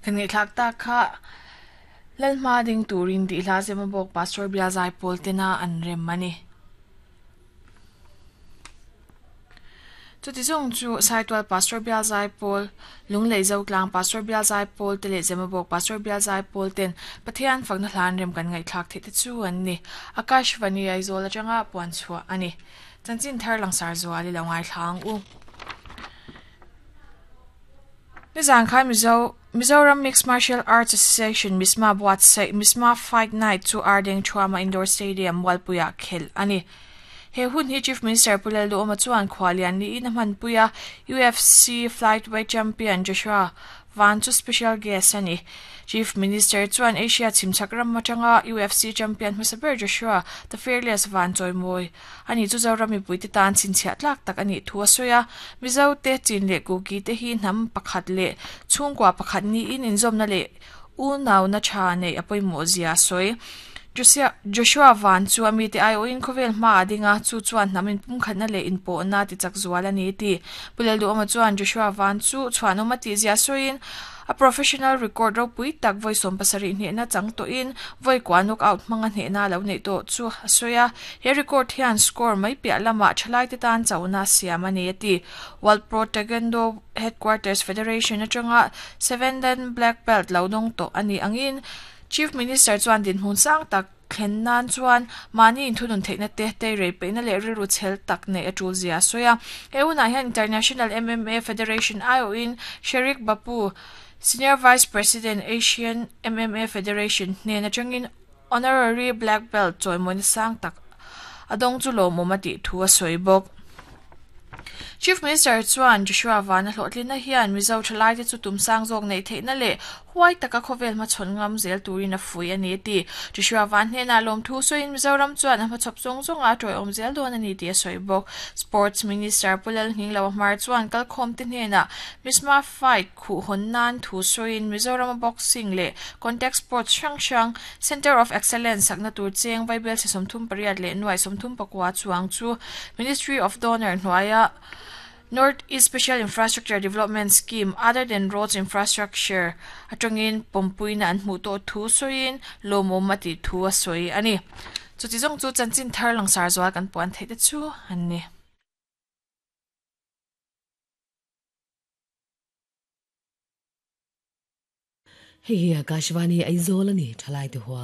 Kan ngaihthlak tak kha Lalhma ding turin tih hla zema bawk Pastor Bial Zaipawl tena an rem a ni. Chuti zawng chu Saitual Pastor Bial Zaipawl, Lunglei Zotlang Pastor Bial Zaipawl te leh Zemabawk Pastor Bial Zaipawl ten Pathian fakna hla an rem kan ngaihthlak theih te chu an ni. Akashvani Aizawl atanga puan chhuah a ni. Chanchin thar langsar zual i lo ngaithla ang u. Nizan khan Mizo Mizoram Mixed Martial Arts Association, MISMA, buatsaih MISMA Fight Night chu Ardeng Thuama Indoor Stadium, Mualpuiah khelh a ni. He hun hi Chief Minister Pu Lalduhawma chuan khualian niin a hmanpui a, UFC Flightweight Champion Joshua Van chu special guest a ni. Chief Minister chuan Asia chhimchhak ram atanga UFC champion hmasa ber Joshua The Fearless Van chawimawi a ni chu Zoram mipuite tan chhinchhiah tlak tak a nih thu a sawi a. Mizote, Chin leh Kuki te hi hnam pakhat leh chhungkua pakhat niin inzawmna leh unauna tha neih a pawimawh zia a sawi. Joshua Van chu a mite aiawhin khawvel hmaah a ding a, chu chuan hnam inpumkhatna leh inpawhna tichak zual a ni ti. Pu Lalduhawma chuan Joshua Van chu chhuanawm a tih zia sawiin, A professional record ropui tak vawi 70 hnehna chang tawhin vawi kua knockout hmanga hnehna a lo neih tawh chu a sawi a. He record hian score mai piah lamah thalaite tan chauhna a siam a ni a ti. World Pro Taekwondo Headquarters Federation atanga seven dan black belt lo dawng tawh a nih angin Chief Minister chuan dinhmun sang tak thlen nan chuan mahni inthunun theihna te, teirei peihna leh rilru chhel tak neih a tul zia a sawi a. He hunah hian International MMA Federation aiawhin Sherik Bapu, Senior Vice President, Asian MMA Federation hnen atangin Honorary Black Belt chawimawina sang tak a dawng chu lawmawm a tih thu a sawi bawk. Chief Minister chuan Joshua Vana hlawhtlinna hian Mizo thalaite chu tum sang zawk neih theihna leh huai taka khawvel hmachhawn ngam zel turin a fuih a ni a ti. Joshua Van hnenah lawmthu sawiin Mizoram chuan a hmachhawp zawng zawnga a tawiawm zel dawn a ni tih a sawi bawk. Sports Minister Pu Lalhnginglo Hmar chuan kalkhawmte hnenah Misma Fight khuh hawn nan thu sawiin Mizorama boxing leh contact sports hrang hrang Centre of Excellence sakna tur cheng vaibelchhe 38 leh nuai 34 chuang chu Ministry of Donor hnuaia North East Special Infrastructure Development Scheme other than roads infrastructure atangin pawmpuina an hmuh tawh thu sawiin lawmawm a tih thu a sawi a ni. Chuti zawng chu chanchin thar langsar zual kan puan theih te chu an ni. Hei hi Akashvani Aizawl a ni, thalai te huang.